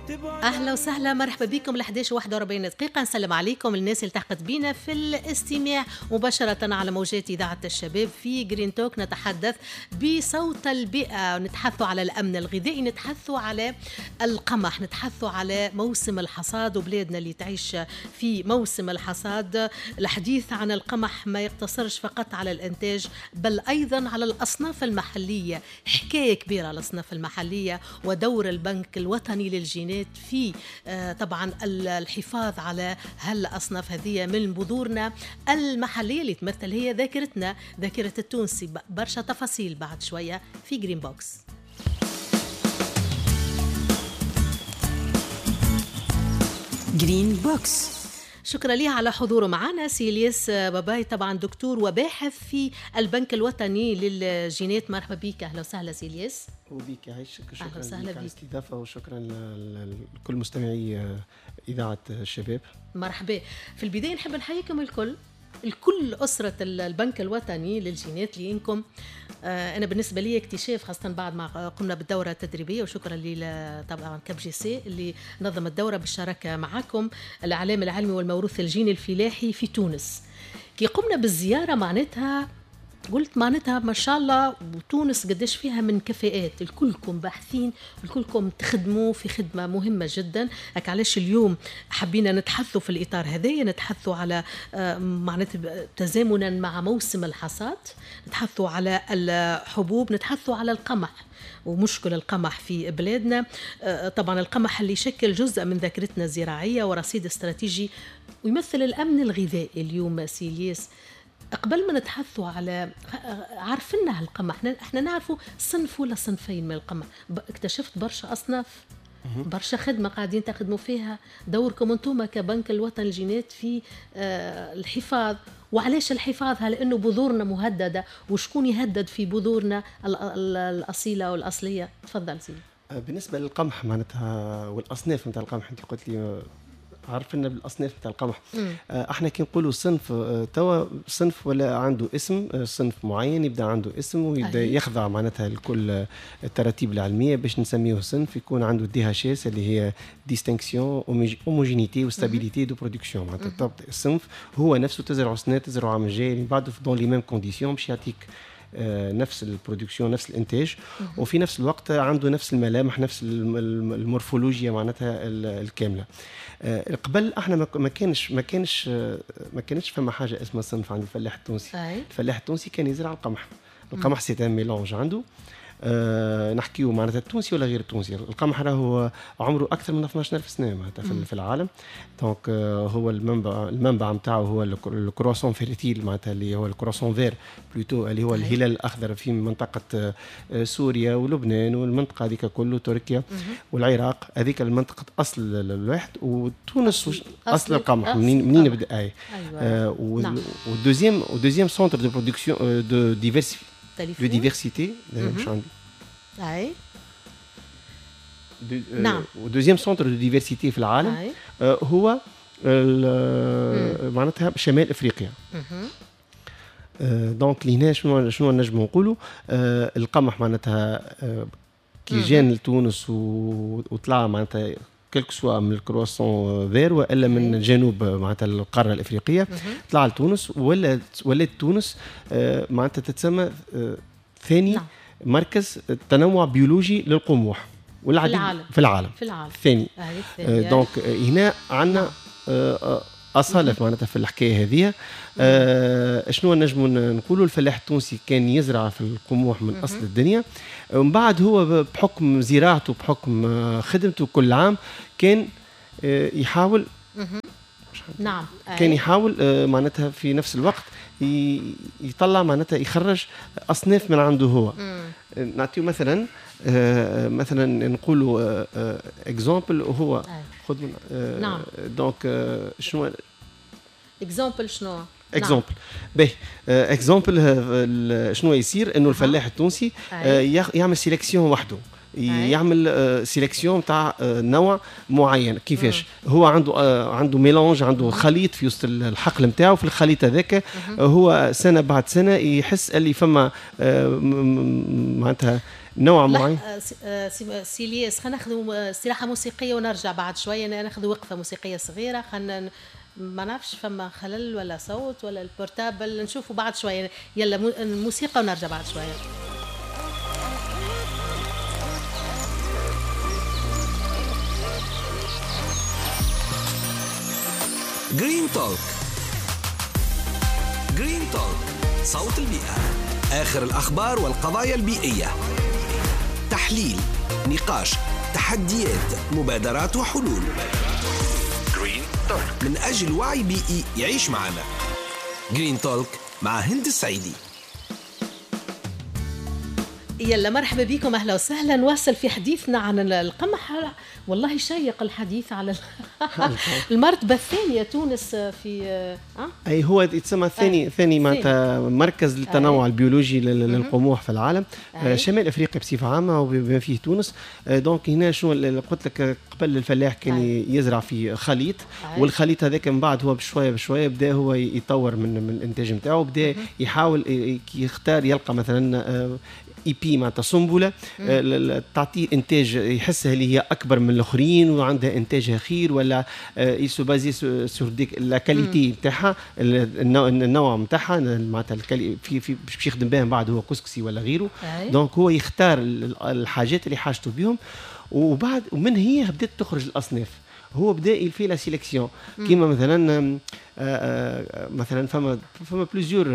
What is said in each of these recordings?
اهلا وسهلا، مرحبا بكم. ل 11:41 دقيقة، نسلم عليكم الناس اللي التحقت بينا في الاستماع مباشرة على موجات إذاعة الشباب في Green Talk. نتحدث بصوت البيئة، نتحدث على الأمن الغذائي، نتحدث على القمح، نتحدث على موسم الحصاد وبلادنا اللي تعيش في موسم الحصاد. الحديث عن القمح ما يقتصرش فقط على الإنتاج بل أيضا على الأصناف المحلية، حكاية كبيرة الأصناف المحلية ودور البنك الوطني للجينات في طبعا الحفاظ على هالأصناف هذه من بذورنا المحلية اللي تمثل هي ذاكرتنا، ذاكرة التونسي. برشا تفاصيل بعد شوية في Green Box. Green Box. شكرا ليه على حضوره معنا سي الياس باباي، طبعا دكتور وباحث في البنك الوطني للجينات. مرحبا بك، اهلا وسهلا سي الياس. وبيك يعيشك، شكرا لك على الاستضافة وشكرا لكل مستمعي اذاعة الشباب. مرحبا. في البداية نحب نحييكم الكل، الكل أسرة البنك الوطني للجينات، لأنكم أنا بالنسبة لي اكتشاف، خاصة بعد ما قمنا بالدورة التدريبية، وشكرا لي طبعا Cap GC اللي نظم الدورة بالشراكة معكم، الإعلام العلمي والموروث الجيني الفلاحي في تونس. كي قمنا بالزيارة معناتها قلت معناتها ما شاء الله وتونس قداش فيها من كفاءات، الكلكم باحثين، الكلكم تخدموا في خدمة مهمة جدا. هك علاش اليوم حبينا نتحثوا في الإطار هذايا، نتحثوا على معناتها تزامنا مع موسم الحصاد، نتحثوا على الحبوب، نتحثوا على القمح ومشكل القمح في بلادنا. طبعا القمح اللي يشكل جزء من ذاكرتنا الزراعية ورصيد استراتيجي ويمثل الأمن الغذائي. اليوم سي الياس، قبل ما نتحثوا على عارفينها القمح، احنا نعرفوا صنف ولا صنفين من القمح، اكتشفت برشا اصناف، برشا خدمة قاعدين تخدموا فيها، دوركم انتم كبنك الوطن للجينات في الحفاظ. وعلاش الحفاظ؟ لانه بذورنا مهددة، وشكون يهدد في بذورنا الاصيلة والاصليه؟ تفضل سيدي. بالنسبة للقمح معناتها والاصناف نتاع القمح، انت قلت لي عرفنا بالاصناف نتاع القمح. احنا كي نقولوا صنف، توا صنف ولا عنده اسم، صنف معين يبدا عنده اسم ويبدا يخضع معناتها لكل التراتيب العلمية باش نسميه صنف، يكون عنده DHS اللي هي distinction homogénéité و stabilité de production. معناتها الصنف هو نفسه تزرعه سنة، تزرعه عام الجاي اللي بعده dans les mêmes conditions باش يعطيك نفس ال production، نفس الانتاج، وفي نفس الوقت عنده نفس الملامح، نفس المورفولوجيا معناتها الكاملة. قبل احنا ما كانش فما حاجة اسمها صنف عند الفلاح التونسي. الفلاح التونسي كان يزرع القمح. القمح c'est un mélange عنده. نحكيو معناتها التونسي ولا غير التونسي، القمح راهو عمره اكثر من 12000 سنة معناتها في العالم. donc هو المنبع نتاعو هو ال croissant fertile، معناتها اللي هو ال croissant vert plutôt، اللي هو الهلال الاخضر في منطقة سوريا ولبنان والمنطقة هذيك كله، تركيا والعراق، هذيك المنطقة اصل الواحد. وتونس اصل القمح منين بدا؟ اي و deuxième centre de production de diversité de diversité مش عندي. اي نعم. و deuxième centre de diversité في العالم هو معناتها شمال افريقيا. donc لهنا شنو نجم نقولوا؟ القمح معناتها كي جان لتونس وطلع معناتها quel que soit من ال croissant vert والا من جنوب معناتها القارة الافريقية، طلع لتونس ولات تونس معناتها تتسمى ثاني مركز تنوع بيولوجي للقموح والعديد في العالم الثاني. donc هنا عندنا اصاله معناتها في الحكاية هذه. شنو نجموا نقولوا؟ الفلاح التونسي كان يزرع في القموح من اصل الدنيا، ومن بعد هو بحكم زراعته بحكم خدمته كل عام كان يحاول نعم كان يحاول معناتها في نفس الوقت يطلع معناتها يخرج اصناف من عنده هو. نعطيه مثلا مثلا نقولوا exemple هو خذ من نعم. donc شنو exemple؟ شنو exemple؟ باهي exemple شنو يصير؟ انه الفلاح التونسي يعمل sélection وحده، يعمل sélection تاع نوع معين. كيفاش؟ هو عنده mélange، عنده خليط في وسط الحقل نتاعو. في الخليط هذاك هو سنة بعد سنة يحس اللي فما معناتها نوع معين. سي الياس، خلينا ناخذ استراحة موسيقية ونرجع بعد شوية، ناخذ وقفه موسيقية صغيرة. خلينا ما نعرفش فما خلل ولا صوت ولا ال portable، نشوفوا بعد شوية. يلا الموسيقى ونرجع بعد شوية. Green Talk. Green Talk، صوت البيئة، آخر الأخبار والقضايا البيئية، تحليل، نقاش، تحديات، مبادرات وحلول. Green Talk من أجل وعي بيئي يعيش معنا. Green Talk مع هند السعيدي. يلا مرحبا بكم، اهلا وسهلا. نواصل في حديثنا عن القمح. والله شيق الحديث على المرتبة الثانية تونس في اي هو يتسمى ثاني معناتها مركز للتنوع البيولوجي للقموح في العالم، شمال افريقيا بصفة عامة وبما فيه تونس. donc هنا شنو قلت لك قبل، الفلاح كان يزرع في خليط، والخليط هذاك من بعد هو بشوية بشوية بدا هو يطور من الانتاج نتاعو، بدا يحاول يختار يلقى مثلا épi معناتها سنبله تعطيه انتاج يحسها اللي هي اكبر من الاخرين وعندها انتاجها خير، ولا il se base sur ديك la qualité نتاعها، النوع نتاعها معناتها في باش يخدم بها من بعد هو كسكسي ولا غيره. donc هو يختار الحاجات اللي حاجته بهم، وبعد ومن هي بدات تخرج الاصناف. هو بدا il fait la sélection، كيما مثلا مثلا فما plusieurs،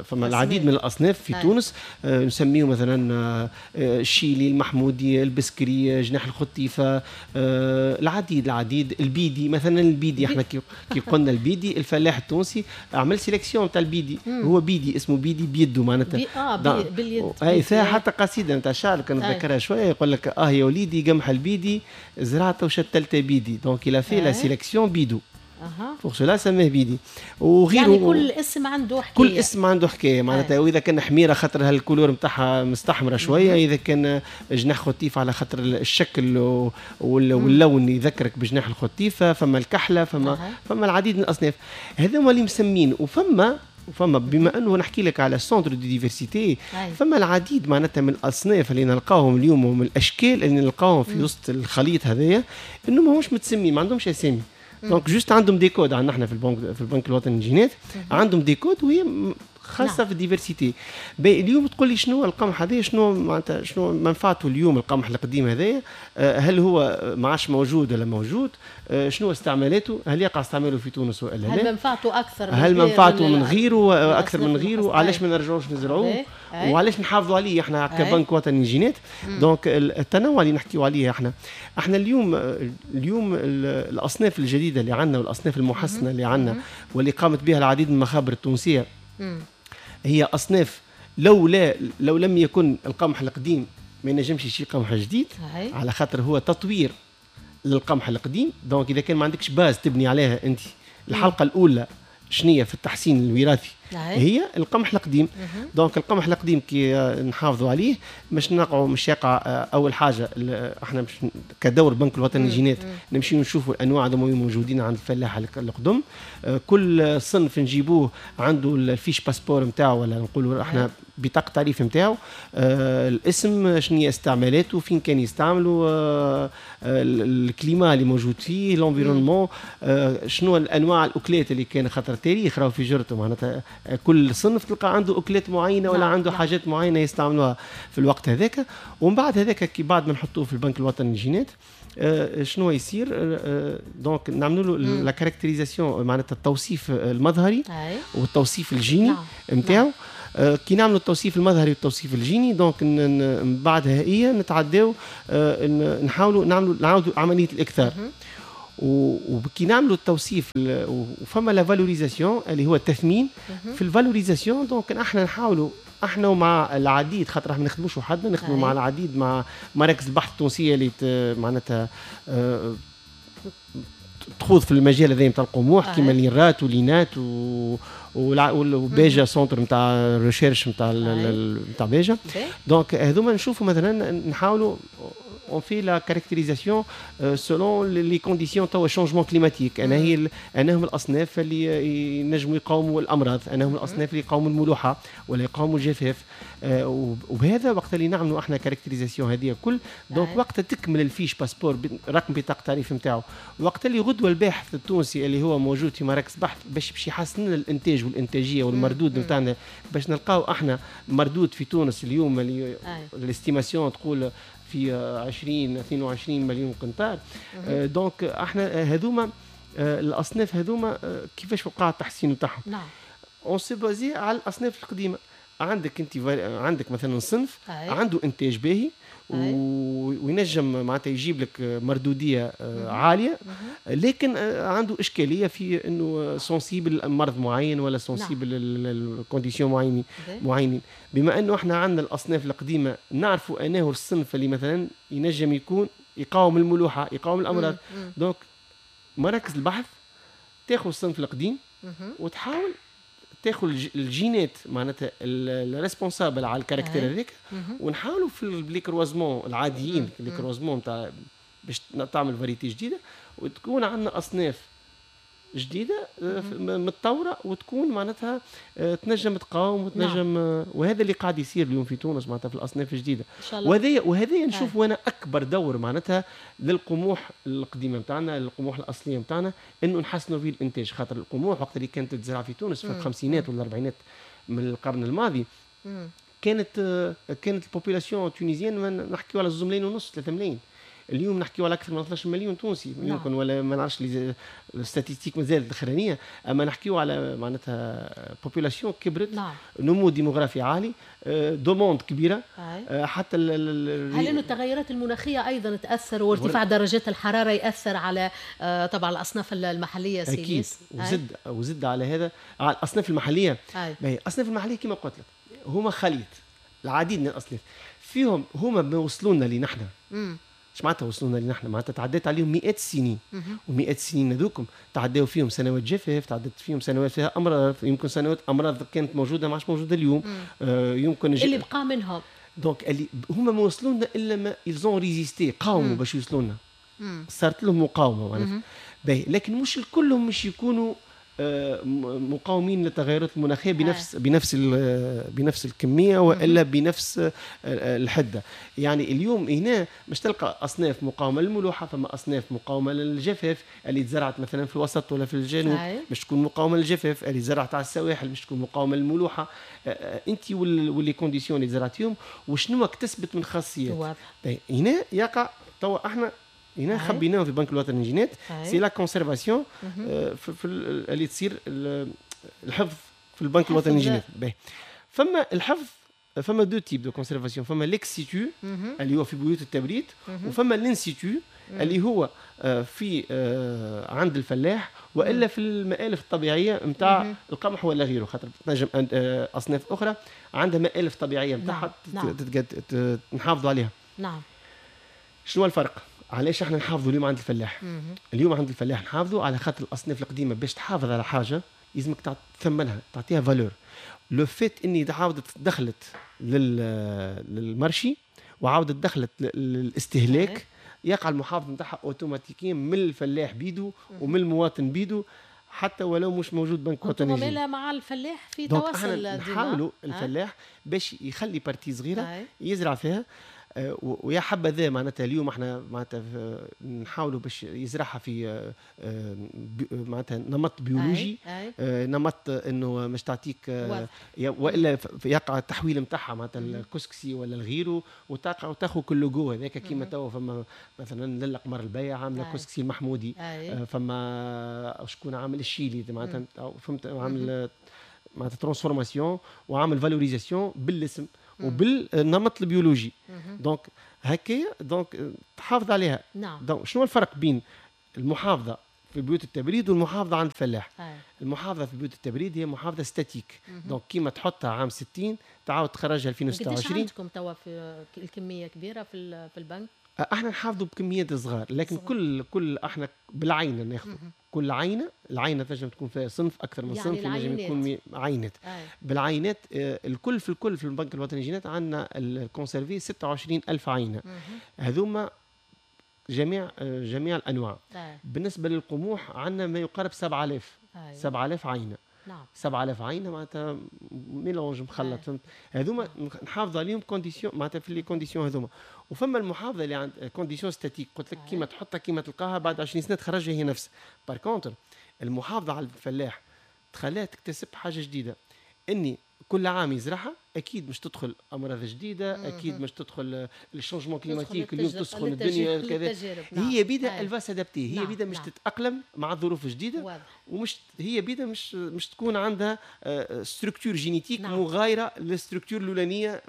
فما العديد من الاصناف في تونس، نسميه مثلا الشيلي، المحمودي، البسكري، جناح الخطيفه، العديد البيدي مثلا. البيدي احنا كي قلنا البيدي، الفلاح التونسي عمل sélection تاع البيدي، هو بيدي اسمه بيدي بيده معناتها باليد. اي فيها حتى قصيدة نتاع شعر كان نتذكرها شوية، يقول لك يا وليدي قمح البيدي زرعته وشتلته بيدي. donc il a fait la sélection بيدو. pour cela سماه بيدي وغيره. يعني كل اسم عنده حكاية، كل اسم عنده حكاية معناتها. واذا كان حميره خاطر هال couleur نتاعها مستحمره شوية، اذا كان جناح خطيف على خاطر الشكل واللون يذكرك بجناح الخطيفه، فما الكحله، فما العديد من الاصناف هذوما اللي مسمين. وفما بما انه نحكي لك على centre de diversité، فما العديد معناتها من الاصناف اللي نلقاهم اليوم ومن الاشكال اللي نلقاهم في وسط الخليط هذايا، انه ماهوش متسمي، ما عندهمش اسامي. donc juste عندهم des codes. عندنا احنا في البنك الوطني للجينات عندهم des codes وهي خاصة في ال diversité. اليوم تقول لي شنو القمح هذا، شنو معناتها شنو منفعته اليوم القمح القديم هذايا، هل هو ما عادش موجود ولا موجود، شنو استعمالاته، هل يقع استعماله في تونس ولا لا، هل منفعته اكثر، هل منفعته من غيره اكثر من غيره، علاش ما نرجعوش نزرعوه وعلاش نحافظوا عليه احنا كبنك وطني للجينات. donc التنوع اللي نحكيو عليه احنا اليوم الاصناف الجديدة اللي عندنا والاصناف المحسنه اللي عندنا واللي قامت بها العديد من المخابر التونسية، هي أصناف لو لم يكن القمح القديم ما ينجمش يشي قمح جديد، على خاطر هو تطوير للقمح القديم. donc إذا كان ما عندكش base تبني عليها أنت الحلقة الأولى شنية في التحسين الوراثي هي القمح القديم. donc القمح القديم كي نحافظوا عليه مش نقعوا، مش يقع. اول حاجة احنا مش كدور بنك الوطني للجينات نمشيو نشوفوا الانواع هذوما موجودين عند الفلاح القدم، كل صنف نجيبوه عنده ال fiche passeport نتاعو، ولا نقولوا احنا بطاقة تعريف نتاعو، الاسم، شنو هي استعمالاته، فين كان يستعملوا، ال climat اللي موجود فيه، l'environnement، شنو الانواع الاكلات اللي كان، خاطر تاريخ راهو في جرته معناتها كل صنف تلقى عنده اكلات معينة ولا عنده حاجات معينة يستعملوها في الوقت هذاك. ومن بعد هذاك كي بعد ما نحطوه في البنك الوطني للجينات شنو يصير، donc نعملوا له la caractérisation معناتها التوصيف المظهري والتوصيف الجيني نتاعو. كي نعملوا التوصيف المظهري والتوصيف الجيني donc من بعدها هي نتعداو نحاولوا نعملوا نعاودوا عملية الاكثار. وكي نعملوا التوصيف وفما la valorisation اللي هو التثمين. في ال valorisation donc احنا نحاولوا احنا ومع العديد، خاطر احنا ما نخدموش وحدنا، نخدموا مع العديد، مع مراكز البحث التونسية اللي معناتها تخوض في المجال هذا نتاع القموح، كيما l'INRAT و l'INAT وباجا centre نتاع recherche نتاع باجا. donc هذوما نشوفوا مثلا نحاولوا on fait la caractérisation selon les conditions توا changement climatique، انا هي انا هم الاصناف اللي ينجموا يقاوموا الامراض، انا هم الاصناف اللي يقاوموا الملوحه ولا يقاوموا الجفاف. وبهذا وقت اللي نعملوا احنا caractérisation هذه كل، donc وقت تكمل ال fiche passeport، رقم بطاقة التعريف نتاعو، وقت اللي غدوه الباحث التونسي اللي هو موجود في مراكز بحث باش يحسن لنا الانتاج والانتاجية والمردود نتاعنا، باش نلقاو احنا مردود في تونس اليوم اللي l'estimation تقول في 20 22 مليون قنطار. donc احنا هذوما الاصناف هذوما كيفاش وقع التحسين نتاعهم؟ on s'est basé على الاصناف القديمه. عندك انت عندك مثلا صنف عنده انتاج باهي وينجم معناتها يجيب لك مردوديه عاليه، لكن عنده اشكالية في انه sensible لمرض معين ولا sensible لل conditions معينين. بما انه احنا عندنا الاصناف القديمه، نعرفوا انه الصنف اللي مثلا ينجم يكون يقاوم الملوحه، يقاوم الامراض، donc مراكز البحث تاخذ الصنف القديم وتحاول تاخذ الجينات معناتها ال responsables على ال caractère هذاك، ونحاولوا في les croisements العاديين، les croisements تاع باش تعمل variété جديدة وتكون عندنا اصناف جديدة متطورة وتكون معناتها تنجم تقاوم وتنجم. وهذا اللي قاعد يصير اليوم في تونس معناتها في الاصناف الجديده. وهذا نشوف وانا اكبر دور معناتها للقموح القديمة نتاعنا، القموح الاصلية نتاعنا، انه نحسنوا فيه الانتاج، خاطر القموح وقت اللي كانت تزرع في تونس في الخمسينات والاربعينات من القرن الماضي، كانت ال population tunisienne نحكيو على 2 ملايين ونص، 3 ملايين. اليوم نحكيو على اكثر من 12 مليون تونسي. يمكن ولا ما نعرفش، les statistiques مازالت الاخرانيه، اما نحكيو على معناتها population كبرت، نمو ديموغرافي عالي، demande كبيره. حتى هل انه التغيرات المناخية ايضا تاثر وارتفاع درجات الحرارة ياثر على طبعا الاصناف المحليه؟ اكيد، وزد على هذا على الاصناف المحليه. الاصناف المحلية كما قلت لك هما خليط العديد من الاصناف، فيهم هما ما وصلوا لنا لنحن. ايش معناتها وصلونا لنحن؟ معناتها تعديت عليهم مئات السنين، ومئات السنين هذوكم تعداو فيهم سنوات جفاف، تعدت فيهم سنوات فيها امراض، يمكن سنوات امراض كانت موجودة ما عادش موجودة اليوم. يمكن اللي بقى منهم donc اللي هما ما وصلوا لنا الا ما ils ont résisté، قاوموا باش يوصلوا لنا، صارت لهم مقاومة معناتها. باهي، لكن مش الكلهم مش يكونوا مقاومين للتغيرات المناخية بنفس الكمية والا بنفس الحده. يعني اليوم هنا مش تلقى اصناف مقاومة للملوحه، فما اصناف مقاومة للجفاف اللي تزرعت مثلا في الوسط ولا في الجنوب مش تكون مقاومة للجفاف، اللي زرعت على السواحل مش تكون مقاومة للملوحه. انت و les conditions اللي زرعتيهم وشنو اكتسبت من خاصيات. هنا يقع توا احنا هنا خبيناهم في بنك الوطني للجينات، c'est la conservation في اللي تصير الحفظ في البنك الوطني للجينات. فما الحفظ، فما deux types de conservation: فما l'ex situ اللي هو في بيوت التبريد، وفما l'in situ اللي هو في عند الفلاح والا في المآلف الطبيعية نتاع القمح ولا غيره، خاطر تنجم اصناف اخرى عندها مآلف طبيعية نتاعها. نحافظوا عليها. شنو الفرق؟ علاش احنا نحافظوا اليوم عند الفلاح؟ اليوم عند الفلاح نحافظوا على خاطر الاصناف القديمه، باش تحافظ على حاجة لازمك تثمنها، تعطيها valeur. le fait اني عاودت دخلت لل marché وعاودت دخلت للاستهلاك، يقع المحافظة نتاعها automatiquement من الفلاح بيدو ومن المواطن بيدو، حتى ولو مش موجود بنك وطني. مع الفلاح في تواصل. نحاولوا الفلاح باش يخلي partie صغيرة يزرع فيها، ويا حبذا معناتها اليوم احنا معناتها نحاولوا باش يزرعها في معناتها نمط بيولوجي، نمط انه مش تعطيك والا يقع التحويل نتاعها معناتها الكسكسي ولا الغيرة وتاخذ كل لوجو هذاك. كيما توا فما مثلا للا قمر البيع عامله كسكسي المحمودي، فما شكون عامل الشيلي معناتها، فهمت، عامل معناتها transformation وعامل valorisation بالاسم وبالنمط البيولوجي، donc هكا donc تحافظ عليها. Donc شنو الفرق بين المحافظة في بيوت التبريد والمحافظة عند الفلاح؟ المحافظة في بيوت التبريد هي محافظة statique، donc كيما تحطها عام 60 تعاود تخرجها 2026. قديش عندكم توا في الكمية كبيرة في البنك؟ احنا نحافظوا بكميات صغار، لكن صغار. كل احنا بالعينة ناخذ كل عينه، العينة تنجم تكون فيها صنف، اكثر من يعني صنف، ينجم يكون عينات. بالعينات الكل في الكل في البنك الوطني للجينات عندنا ال conservé 26 ألف عينه. هذوما جميع الانواع. بالنسبة للقموح عندنا ما يقارب 7000. 7000 عينه. 7000 عينه معناتها mélange مخلط، فهمت؟ هذوما نحافظ عليهم conditions، معناتها في les conditions هذوما. وفما المحافظة اللي عند conditions statiques، قلت لك كيما تحطها كيما تلقاها بعد 20 سنة تخرجها هي نفسها. par contre المحافظة على الفلاح تخليها تكتسب حاجة جديده، اني كل عام يزرعها اكيد مش تدخل امراض جديده، اكيد مش تدخل ال changement climatique، اليوم تسخن الدنيا كذا. نعم. هي بيدا elle va s'adapter، هي بيدا مش تتاقلم مع الظروف الجديده. ومش هي بيدا مش تكون عندها structure génétique مغايرة لل structure الاولانية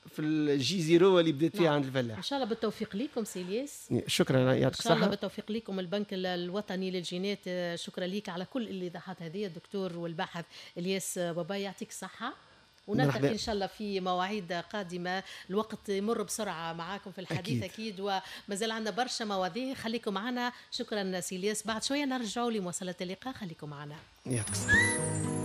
في ال J zéro اللي بدات فيها عند الفلاح. ان شاء الله بالتوفيق لكم سي الياس. شكرا، يعطيك الصحه. ان شاء الله بالتوفيق لكم البنك الوطني للجينات. شكرا لك على كل الايضاحات هذه الدكتور والباحث الياس بابا، يعطيك الصحه، ونلتقي ان شاء الله في مواعيد قادمه. الوقت يمر بسرعة معاكم في الحديث اكيد، وما زال عندنا برشا مواضيع، خليكم معنا. شكرا سي الياس، بعد شوية نرجعوا لمواصلة اللقاء، خليكم معنا. يعطيك الصحه.